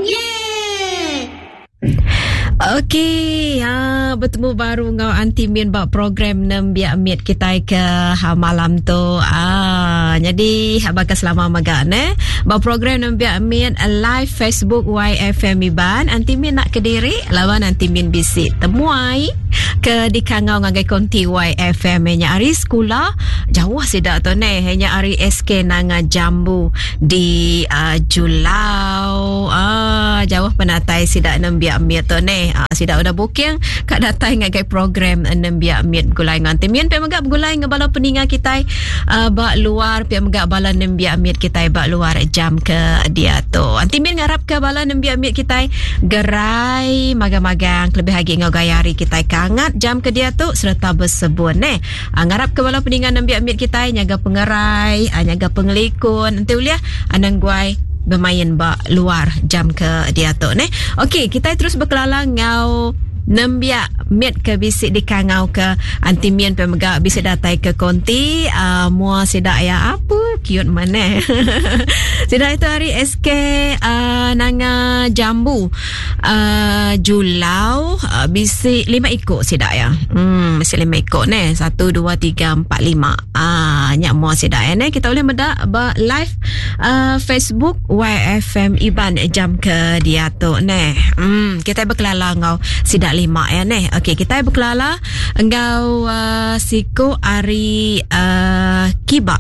Yeay! Okey, ha, betemu baru enggau Aunty Min ba program Nembiak Mit kitai ke ha, malam tu. Ah, jadi ha, baka selama mega ne. Ba program Nembiak Mit live Facebook YFM Iban, Aunty Min nak kediri laban Aunty Min bisi temuai ke dikangau ngagai konti YFM nya ari sekula jauh sida tu ne nya ari SK Nanga Jambu di uh, Julau. Ah, jauh penatai sida nembiak mit tu ne. Ah, sida udah booking ka datai ngagai program nembiak mit begulai ngan Timian pia mega begulai ngan bala peninga kitai uh, ba luar pia mega bala nembiak mit kitai ba luar jam ke diatu. Anti Min ngarap ke bala nembiak mit kitai gerai magang-magang kelebih agi enggau gaya hari kitai ke angat jam ke diatu sereta besebun ne. Uh, ngarap ke bala peninga nembiak mit kitai nyaga pengerai, uh, nyaga pengelikun enti ulih anang guai bermain ba luar jam ke diatu ne. Okey, kita terus berkelala enggau nembiak mit ke bisi dikangau ke Aunty Min pe mega bisi datai ke konti uh, mua sida ya apa cute mana. sida itu hari SK uh, Nanga Jambu uh, Julau uh, bisi lima iko sida ya. Hmm, bisi lima iko ne. Satu, dua, tiga, empat, lima. Ah, nya mua sida ya ne. Kita boleh meda ba live uh, Facebook YFM Iban jam ke diatu ne. Hmm, kita berkelala enggau sida lima ya ne. Okey, kita berkelala enggau uh, siku ari uh, Kiba.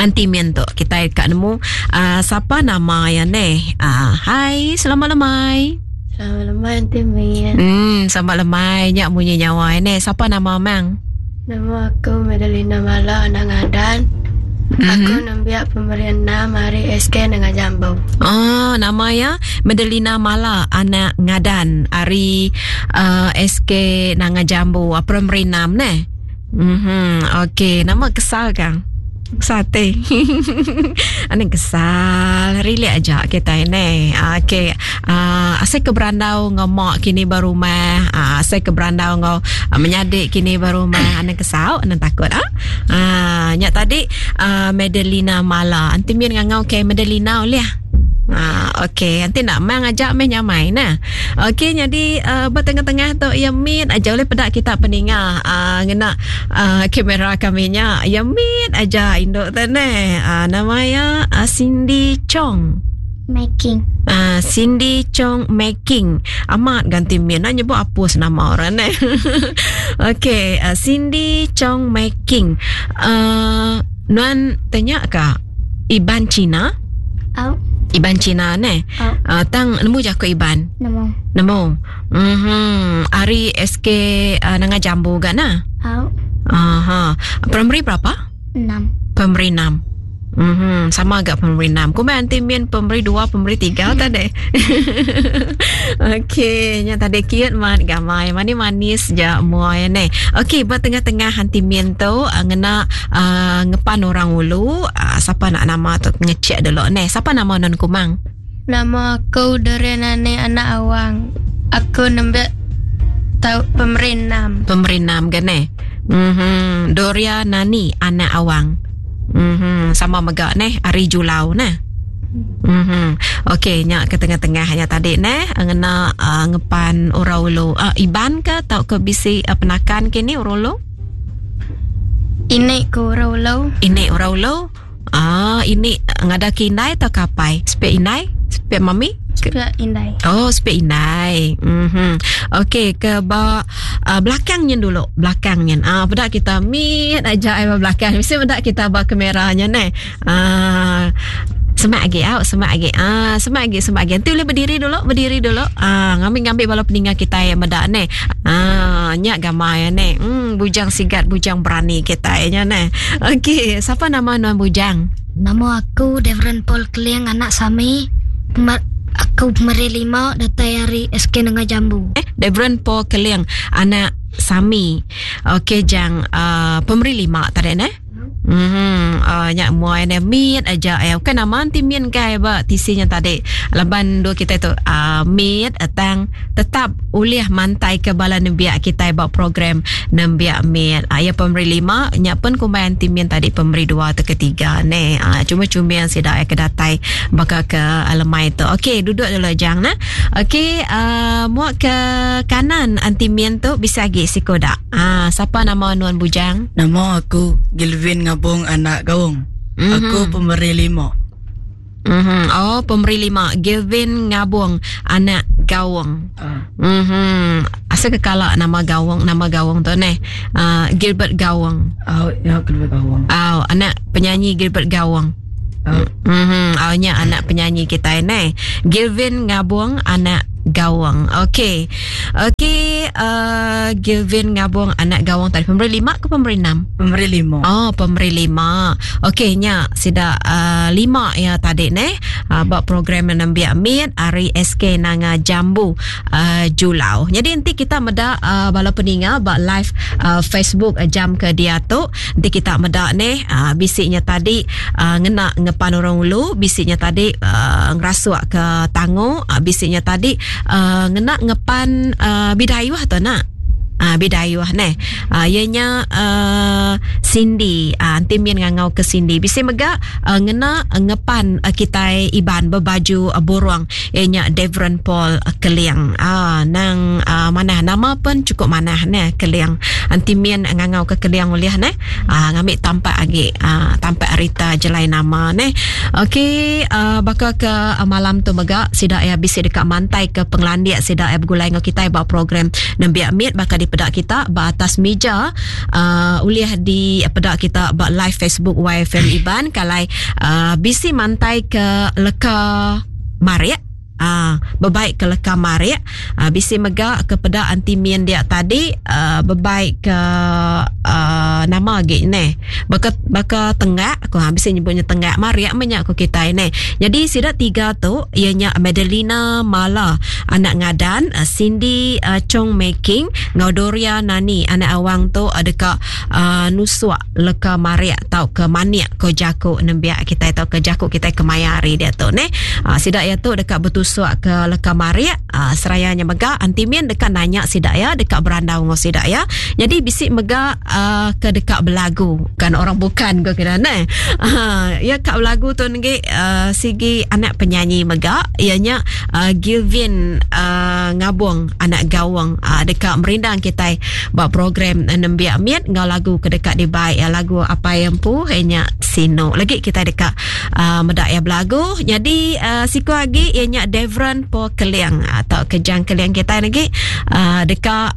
Anti Min tu kita ka nemu uh, siapa nama ya ne. Uh, hai, selamat lemai. Selamat lemai Aunty Min. Hmm, selamat lemai nya munyi nyawa ne. Siapa nama mang? Nama aku Madelina Mala anak Ngadan. Mm-hmm. Aku nembiak pemeri enam ari SK Nengah Jambu. Oh, nama ya Madelina Mala anak Ngadan ari uh, SK Nanga Jambu. Ah, pemeri enam ne. Mhm. Okey, nama kesal kang? Sate. Ane kesal. Relax aja kita ini. Okey. Uh, asai ke berandau ngau mak kini ba rumah. Uh, asai ke berandau ngau uh, menyadik kini ba rumah. Ane kesal, ane takut ah. Uh, nya tadi uh, Madelina Mala. Anti min ngangau ke Madelina oleh. Ah, okey. Nanti nak mang ajak meh nyamai nah. Okey, jadi uh, bertengah-tengah tu ya min aja oleh pedak kita peninga uh, ngena uh, kamera kami nya. Ya min aja induk tu neh. Uh, nama ya uh, Cindy Chong. Making. Uh, Cindy Chong Making. Amat ganti min nak nyebut apus nama orang neh. Okey, uh, Cindy Chong Making. Uh, nuan tanya ka Iban Cina? Au. Iban Cina neh. Au. Uh, tang nemu jaku Iban? Nemu. Nemu. Mhm. Ari SK uh, Nanga Jambu ga nah? Au. Aha. Primary berapa? Enam. Primary enam. Mhm, sama agak primary enam. Kumbai anti min primary dua, primary tiga tadi. Okey, nya tadi cute mat gamai. Mani manis ja mua ya ne. Okey, ba tengah-tengah anti min tu uh, ngena uh, ngepan orang ulu, uh, siapa nak nama tu ngecek dulu ne. Siapa nama non kumang? Nama aku Dorian Nani anak Awang. Aku nembek tau pemeri enam. Pemeri enam ke ne? Mhm, Doria Nani anak Awang. Mhm, sama mega neh ari Julau neh. Mhm. Okey, nya ke tengah-tengah nya tadi neh ngena uh, ngepan orang ulu. Uh, Iban ke tau ke bisi uh, penakan kini orang ulu? Ini ke orang ulu. Ini orang ulu. Ah, ini ngada ke indai atau kapai? Sepik indai? Sepik mami? Sepik indai. Oh, sepik indai. Mhm. Okey, ke ba uh, belakang nyen dulu, belakang nyen. Ah, peda kita mit aja ai ba belakang. Mesti peda kita ba kameranya neh. Ah, semak agi au, semak agi. Ah, semak agi, semak agi. Nanti boleh berdiri dulu, berdiri dulu. Ah, ngambil-ngambil bala peninga kita yang meda neh. Ah, nya gamai ya neh. Hmm, bujang sigat, bujang berani kita nya neh. Okey, siapa nama nuan bujang? Nama aku Devron Paul Keling anak Sami. Aku pemeri lima datai ari SK Nengah Jambu. Eh, Devron Paul Keling anak Sami. Okey, jang uh, pemeri lima tadi neh. Mhm uh, nya muai ne mit aja ya. Bukan nama anti min kai ba tisi nya tadi. Laban dua kita tu uh, mit tang tetap ulih mantai ke bala nembiak kita ba program nembiak mit. Uh, ya pemeri lima nya pun kumbai anti min tadi pemeri dua atau ketiga ne. Uh, cuma cuma yang sida ke datai baka ke lemai tu. Okey, duduk dulu jang nah. Okey, uh, muak ke kanan anti min tu bisa agi sikoda. Ah, siapa nama nuan bujang? Nama aku Gilvin Ngabung anak Gaung. Mm-hmm. Aku pemeri lima. Mm-hmm. Oh, pemeri lima. Gilvin Ngabung anak Gaung. Uh. Mm-hmm. Asal kekala nama Gaung, nama Gaung tu neh. Gilbert Gaung. Oh, ya Gilbert Gaung. Oh, anak penyanyi Gilbert Gaung. Oh. Mm-hmm. Oh, nya anak penyanyi kita neh. Gilvin Ngabung anak Gawang. Okey. Okey, Gilvin Ngabung anak Gawang tadi pemberi lima ke pemberi enam? Pemberi lima. Oh, pemberi lima. Okey, nya sida lima ya tadi neh. Ba program nembiak mit ari SK Nanga Jambu Julau. Jadi nanti kita meda bala peninga ba live Facebook jam ke dia tu. Nanti kita meda neh bisinya tadi ngena ngepan orang ulu, bisinya tadi ngerasuk ke tangu, bisinya tadi ngena ngepan bidayuh tu nak. Bidayuh neh. Ianya Cindy. Nanti min ngangau ke Cindy. Bisi mega ngena ngepan kitai Iban berbaju burung. Ianya Devron Paul Keling. Nang manah nama pun cukup manah neh Keling. Nanti min ngangau ke Keling ulih neh. Ngambil tampak agi tampak Rita jelai nama neh. Okey, baka ke malam tu mega sida ya bisi dekat mantai ke penglandik sida ya begulai ngau kitai ba program nembiak mit baka dipeda kita ba atas meja ulih dipeda kita ba live Facebook YFM Iban kalai bisi mantai ke leka marik. Bebaik ke leka marik, bisi mega ke peda anti min dia tadi bebaik ke nama agi neh baka baka tenggak ko bisi nyebutnya tenggak marik meh nya ko kitai neh. Jadi sida tiga tu iya nya Madelina Mala anak Ngadan, Cindy Chong Making enggau Doria Nani anak Awang tu deka nusuk leka marik tauka manik ko jaku nembiak kitai tauka jaku kitai kemaya hari diatu neh. Sida iya tu deka betusuk ke leka marik, seraya nya mega Aunty Min deka nanya sida iya deka berandau enggau sida iya. Jadi bisi mega ke deka belagu kan orang bukan ko kira neh. Iya ka belagu tu negi sigi anak penyanyi mega iya nya Gilvin Ngabong anak Gawong deka merindang kitai ba program nembiak mit enggau lagu ke deka dibai lagu apai empu iya nya Sinu. Lagi kita deka meda iya belagu. Jadi siku agi iya nya Devron Po Keling atau Kejang Keling kita lagi deka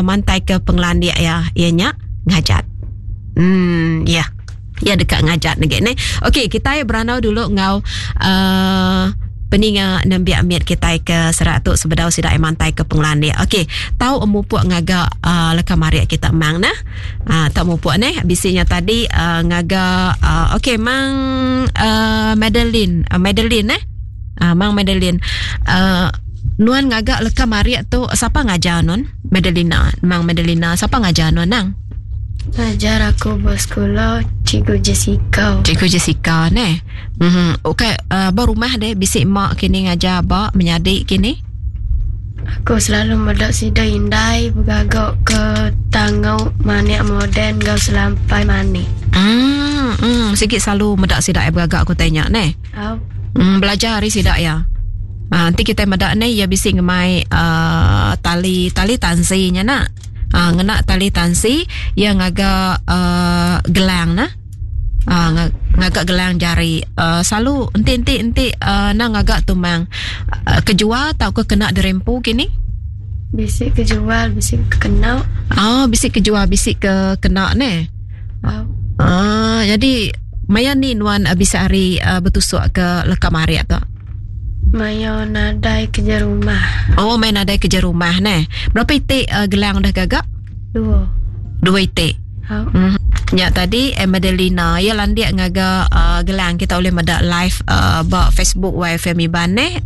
mantai ke pengelandik iya iya nya ngajat. Ya. Ya deka ngajat lagi ni. Okey, kita berandau dulu enggau peninga nembiak mit kita ke serak tu sebedau sida mantai ke pengelandik. Okey, tau mupuk ngaga leka marik kita mang nah. Tau mupuk ni bisinya tadi ngaga okey mang Madeline, Madeline eh. Mang Madeline. Nuan ngaga leka marik tu siapa ngajar nuan? Madelina, mang Madelina siapa ngajar nuan nang? Ngajar aku bersekolah Cikgu Jessica. Cikgu Jessica ne. Mhm. Okey, ba rumah deh bisi mak kini ngajar ba menyadi kini. Aku selalu meda sida indai begagak ke tangau manik moden enggau selampai manik. Sigi selalu meda sida begagak ku tanya ne. Au. Belajar hari sida ya. Nanti kita meda ne ia bisi ngemai tali tali tansi nya nak. Ngena tali tansi ia ngaga gelang nah. Ngaga gelang jari. Selalu enti-enti enti na ngaga tumang kejual tau ke kena dirempu kini? Bisi kejual, bisi ke kena. Bisi kejual, bisi ke kena ne. Jadi maya ni nuan bisi hari betusuk ke leka marik tu? Maya nadai kerja rumah. Oh, maya nadai kerja rumah neh. Berapa itik gelang dah gagak? Dua. Dua itik. Oh. Ya tadi Madelina ya landik ngaga gelang kita boleh meda live ba Facebook YFM Iban neh.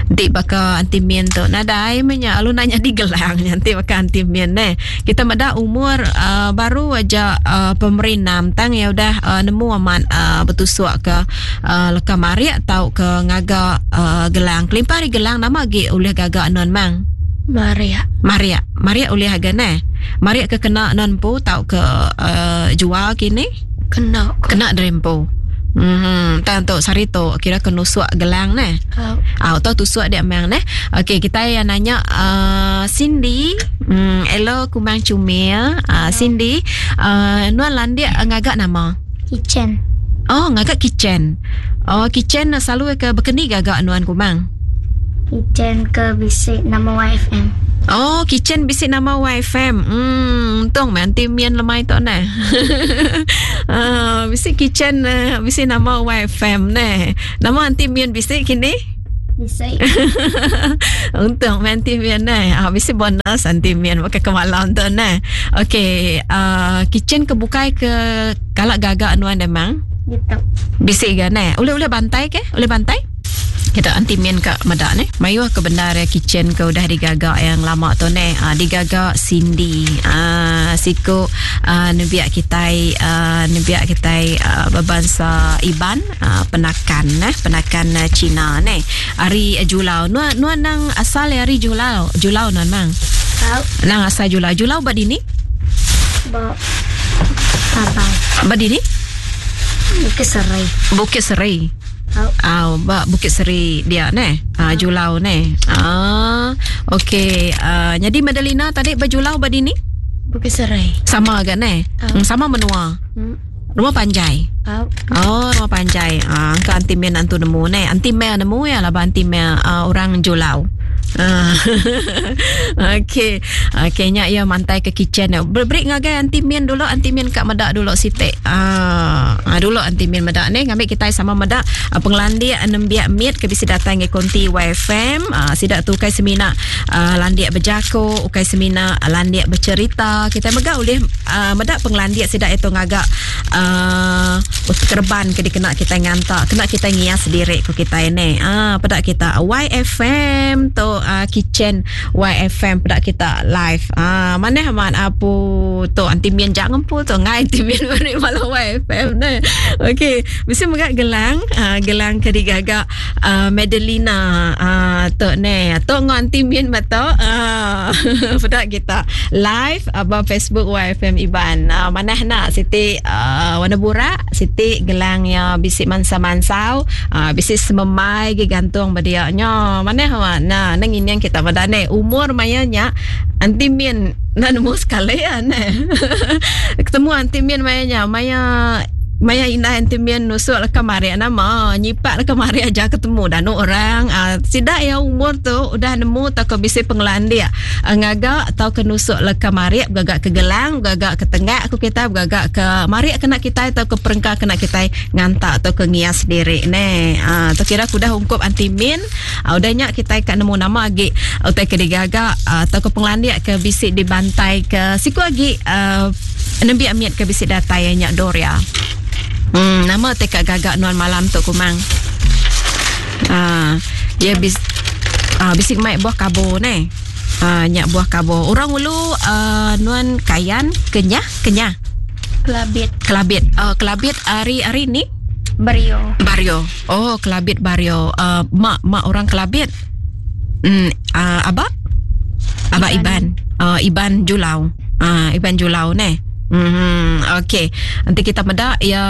Enti baka Aunty Min tu nadai meh nya lalu enda nyadi gelang nya enti baka Aunty Min neh. Kita meda umur uh, baru aja uh, pemeri enam tang iya udah uh, nemu amat uh, betusuk ke uh, leka marik tauka ngaga uh, gelang. Kelimpah ari gelang nama agi ulih gaga non mang? Marik. Marik. Marik ulih aga neh. Marik ke kena non empu tauka uh, jual kini? Kena. Kena diri empu. Hmm, tang tu sehari tu kira ke nusuk gelang neh. Au. Au tu tusuk dia mang neh. Okey, kita yang nanya uh, Cindy, hello Kumang Cumil. Cindy, nuan landik ngaga nama? Kitchen. Oh, ngaga kitchen. Oh, kitchen selalu ke bekeni gaga nuan Kumang? Kitchen ke bisi nama YFM. Oh, kitchen bisi nama YFM. Untung meh anti mian lemai tu neh. Uh, bisi kitchen uh, bisi nama YFM neh. Nama anti mian bisi kini? Bisi. Untung meh anti mian neh. Ah, bisi bonus anti mian pakai ke malam tu neh. Okey, uh, kitchen ke bukai ke kala gaga nuan memang? Gitu. Bisi ga neh. Ulih-ulih bantai ke? Ulih bantai? Kita anti min ka meda neh. Mayuh ke bendar ya kitchen ke udah digaga yang lama tu neh. Digaga Cindy. Siku nembiak kitai nembiak kitai bebansa Iban penakan neh, penakan Cina neh. Ari Julau. Nuan nuan nang asal ari Julau. Julau nuan mang. Tau. Nang asal Julau. Julau ba dini? Ba Tabau. Ba dini? Bukit Seri. Bukit Seri. Au ba Bukit Seri dia neh. Ah Julau neh. Ah okey ah nyadi Madelina tadi ba Julau ba dini? Bukit Seri. Sama ga neh. Au. Sama menua. Rumah panjai. Au. Oh rumah panjai. Ah angka anti Mel antu nemu neh. Anti Mel nemu ya laban anti Mel orang Julau. Ah. Okey. Okey nya iya mantai ke kitchen. Beri ngagai Aunty Min dulu, Aunty Min ka meda dulu siti. Ah, dulu Aunty Min meda ni ngambi kitai sama meda pengelandik nembiak mit ke bisi datai ngi konti YFM. Sida tu ukai semina landik bejaku, ukai semina landik becerita. Kitai mega ulih meda pengelandik sida itu ngaga kereban ke dikena kitai nganta, kena kitai ngias diri ku kitai ni. Peda kita YFM tu kitchen YFM peda kita live. Manah amat apu tu anti min jak ngempu tu ngai anti min beri bala YFM ne. Okey, bisi mega gelang, gelang ke digaga Madelina tu ne. Tu ngau anti min ba tu. Peda kita live ba Facebook YFM Iban. Manah nak siti warna burak, siti gelang iya bisi mansa-mansau, bisi sememai gi gantung ba dia nya. Manah amat. Nah, nang ngining kita meda neh umur maya nya anti min enda nemu sekali ah neh. Ketemu anti min maya nya maya maya indai anti min nusuk leka marik nama nyipak leka marik aja ketemu danu orang uh, sida iya umur tu udah nemu tauka bisi pengelandik uh, ngaga tauka nusuk leka marik begaga ke gelang begaga ke tenggak ku kita begaga ke marik kena kitai tauka perengka kena kitai nganta tauka ngias diri neh. Uh, tu kira ku udah ungkup anti min. Udah nya kitai ka nemu nama agi utai ke digaga tauka pengelandik ke bisi dibantai ke siku agi nembiak mit ke bisi datai iya nya Doria. Hmm nama utai ka gaga nuan malam tu kumang? Aaa iya bis aaa bisi mai buah kabo neh. Aaa nya buah kabo. Orang ulu aaa nuan Kayan, Kenyah, Kenyah. Kelabit. Kelabit. Oh Kelabit ari ari ni? Bario. Bario. Oh, Kelabit Bario. Mak mak orang Kelabit. Hmm, abak? Abak Iban. Iban. Iban Julau. Iban Julau neh. Hmm, okey. Nanti kita meda ya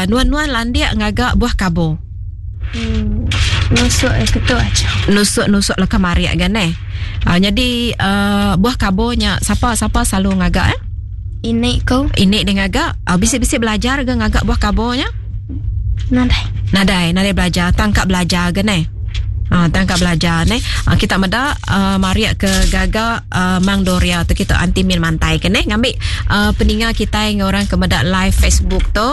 nuan-nuan landik ngaga buah kabo. Hmm, nusuk eh ketu aja. Nusuk-nusuk leka marik gan neh. Jadi buah kabo nya sapa sapa selalu ngaga eh? Ini ko. Ini dia ngaga. Bisi-bisi belajar ke ngaga buah kabo nya? Nadai. Nadai, nadai belajar. Tangkap belajar ke neh. Tangkap belajar neh. Kita meda marik ke gaga Mang Doria tu kita anti min mantai ke neh. Ngambi peninga kitai enggau orang ke meda live Facebook tu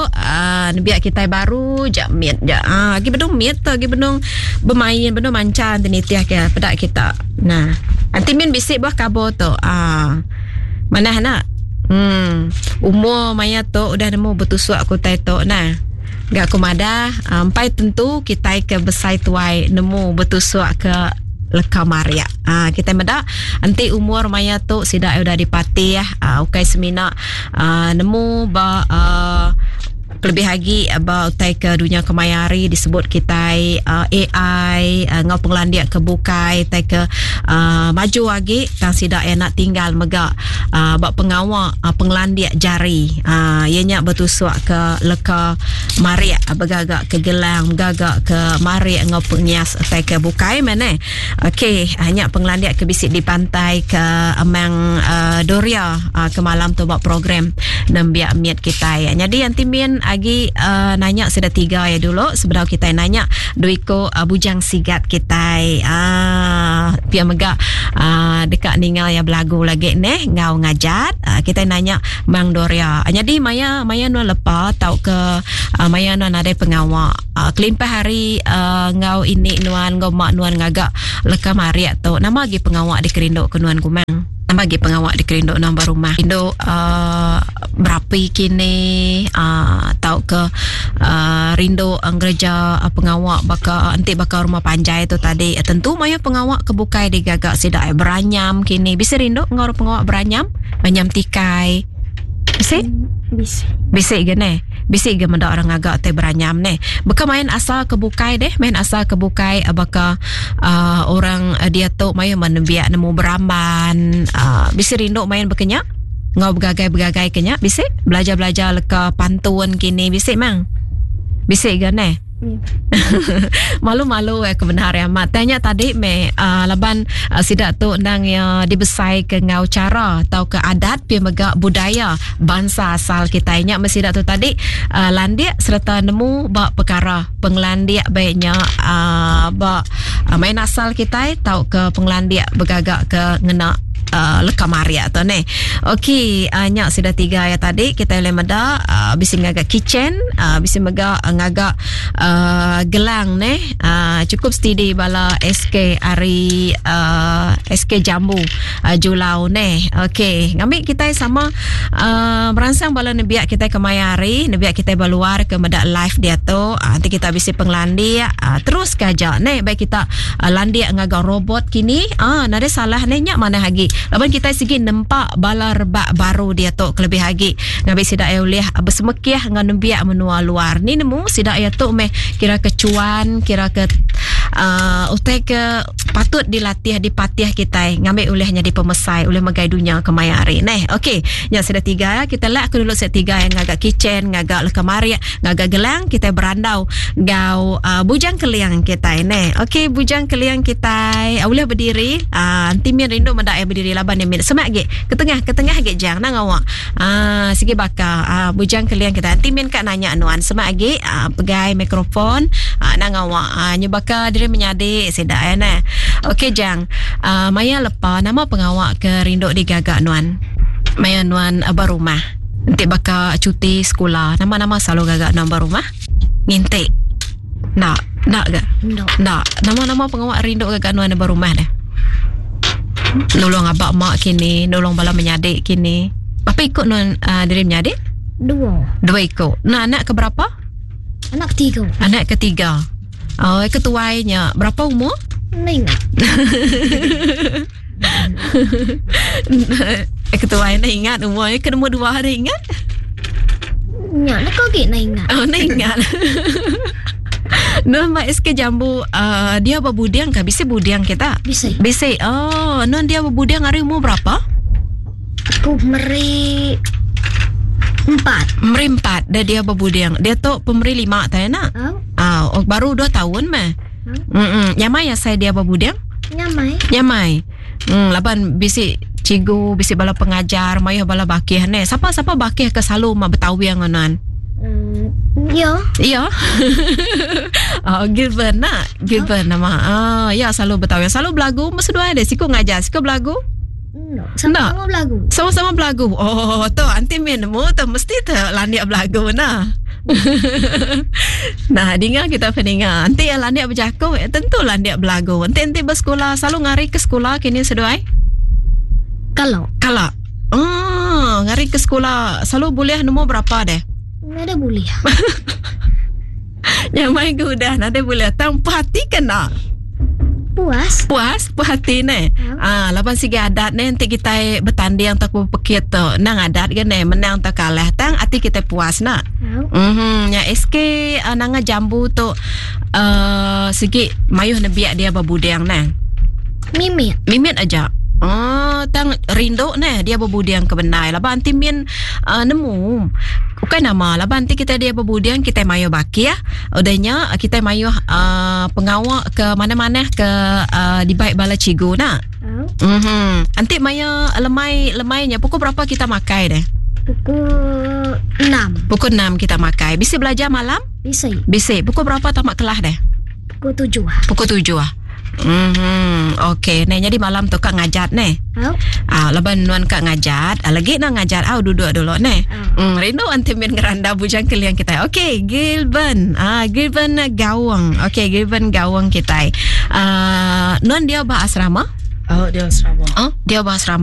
nembiak kitai baru ja mit ja. Agi benung mit tu, agi benung bemain, benung mancha enti nitih ke peda kita. Nah, anti min bisi buah kabo tu. Manah anak. Hmm. Umur maya tu udah nemu betusuk ku utai tu nah. Ga aku madah empai tentu kitai ke besai tuai nemu betusuk ke leka marik. Ha, kitai meda enti umur maya tu sida udah dipatih ha, ukai semina ha, nemu ba uh, kelebih agi ba utai ke dunya kemaya hari disebut kitai uh, AI uh, enggau pengelandik ke bukai utai ke uh, maju agi tang sida iya nak tinggal mega uh, ba pengawa uh, pengelandik jari uh, iya nya betusuk ke leka marik begaga ke gelang begaga ke marik enggau pengias utai ke bukai meh neh. Okey, nya pengelandik ke bisi dipantai ke Amang uh, Doria uh, ke malam tu ba program nembiak mit kitai. Nyadi anti min agi uh, nanya sida tiga ya dulu sebedau kitai nanya duiko uh, bujang sigat kitai. Uh, pia mega uh, deka ninga ya belagu lagi neh ngau ngajat. Uh, kitai nanya Mang Doria. Nyadi maya maya nuan lepa tauka uh, maya nuan nadai pengawa Uh, kelimpah hari uh, enggau ini nuan enggau mak nuan ngaga leka marik tu nama agi pengawa dikerindu ke nuan kumang nama agi pengawa dikerindu nuan ba rumah rindu uh, berapi kini uh, tauka uh, rindu ngereja pengawa baka enti baka rumah panjai tu tadi tentu mayuh pengawa ke bukai digaga sida beranyam kini bisi rindu enggau pengawa beranyam beranyam tikai bisi bisi bisi ge neh Bisi ga meda orang ngaga tai beranyam neh. Baka main asal ke bukai deh, main asal ke bukai eh, baka uh, orang eh, diatu mayuh men nembiak nemu beramban, uh, bisi rindu main baka nya? Enggau begagai-begagai ke nya bisi? Belajar-belajar leka pantun kini bisi mang? Bisi ga neh? Malu-malu eh kebenar ya amat. Tanya tadi me uh, laban uh, sida tu endang ya dibesai ke ngau cara atau ke adat pi mega budaya bangsa asal kita nya mesti sida tu tadi uh, landik serta nemu ba perkara pengelandik baiknya uh, ba uh, main asal kita tau ke pengelandik begaga ke ngena uh, leka maria tu ne. Okey, uh, nya sida tiga ya tadi kita boleh meda uh, bisi ngaga kitchen, uh, bisi mega uh, ngaga uh, gelang ne. Uh, cukup steady bala SK ari uh, SK Jambu uh, Julau ne. Okey, ngambi kita sama uh, meransang bala nebiak kita ke maya hari, nebiak kita beluar ke meda live dia tu. Uh, nanti kita bisi pengelandik, uh, terus ke aja ne baik kita uh, landik ngaga robot kini ah nadai salah ne nya manah agi laban kitai sigi nempa bala rebak baru diatu kelebih agi ngambi sida iya ulih besemekih enggau nembiak menua luar ni nemu sida iya tu meh kira ke cuan kira ke uh, utai ke patut dilatih dipatih kitai ngambi ulih nyadi pemesai ulih megai dunya kemaya hari neh okey nya sida tiga ya kita lak aku dulu sida tiga yang ngaga kitchen ngaga leka marik Ngaga gelang kitai berandau enggau uh, bujang keling kitai neh. Okey bujang keling kitai uh, ulih berdiri. Uh, enti min rindu meda iya berdiri laban iya min semak agi ke tengah ke tengah agi jang nang awak. Uh, sigi baka uh, bujang keling kitai. Enti min ka nanya nuan semak agi uh, pegai mikrofon uh, nang awak. Uh, nyu baka diri menyadi sida ya neh. Okey jang. Uh, maya lepa nama pengawa ke rindu digaga nuan? Maya nuan uh, ba rumah. Enti baka cuti sekula, nama-nama selalu gaga nuan ba rumah? Nginti. Enda, enda ga? Enda. Enda. Nama-nama pengawa rindu gaga nuan ba rumah deh? Nulung aba mak kini, nulung bala menyadi kini. Berapa iku nuan uh, diri menyadi? Dua. Dua iku. Nah, anak ke berapa? Anak ketiga. Anak ketiga. Oh, ketuai nya berapa umur? Enda ingat. Eh, ketua nak ingat umur ke nombor dua ada ingat? Nya nak kau nak ingat. Oh, nak ingat. Nuan ba SK Jambu uh, dia berbuding kah? Bisi buding kita? Bisi. Bisi. Oh, nuan dia berbuding hari umur berapa? Aku meri empat. Meri empat. Dia dia berbuding. Dia tu pemeri lima tak nak? Oh. Ah, oh, baru dua tahun meh. Hmm. Nyamai asai dia bebuding? Nyamai. Nyamai. Hmm, laban bisi cikgu, bisi bala pengajar, mayuh bala bakih ne. Sapa-sapa bakih ke selalu mak betawing nuan? Hmm, ya. Ya. oh, Gilbert nak. Gilbert nama. Ah, ya selalu betawing. Selalu belagu mesti dua ada. Siku ngajar, siku belagu. Sama-sama belagu. Sama-sama belagu. Oh, tu anti min nemu tu mesti tu landik belagu nah. nah, dinga kita peninga. Anti yang landik berjaku, eh, tentu landik belagu. Anti anti bersekolah selalu ngari ke sekolah kini seduai? Kalau. Kalau. Oh, ngari ke sekolah selalu boleh nombor berapa deh? Ada boleh. Nyamai ke udah nadai bulih tang puas hati ke enda? Puas. Puas, puas hati ne. Ah, laban sigi adat ne enti kitai betanding tauka bepekit tu nang adat ga ne menang tauka kalah tang ati kitai puas na. Mhm nya SK uh, nanga jambu tu uh, sigi mayuh nembiak dia bebuding ne. Mimit. Mimit aja. Oh, tang rindu neh dia bebuding ke bendai laban anti min uh, nemu ukai nama laban anti kita dia bebuding kita mayuh bakih udah nya kita mayuh uh, pengawa ke mana-mana ke uh, dibai bala cikgu nak. Oh. Mhm. Anti maya lemai lemai nya pukul berapa kita makai deh? Pukul 6. Pukul 6 kita makai. Bisi belajar malam? Bisi. Bisi. Pukul berapa tamat kelas deh? Pukul 7. Pukul 7. Mhm. Okey, neh jadi malam tu ka ngajat neh. Au. Ah, laban nuan ka ngajat, ah, lagi nak ngajat au duduk dulu neh. Au. Hmm, rindu anti min ngeranda bujang keliang kita. Okey, Gilben. Ah, Gilben Gawang. Okey, Gilben Gawang kita. Ah, nuan dia ba asrama? Oh, dia asrama. Oh, dia ba asrama.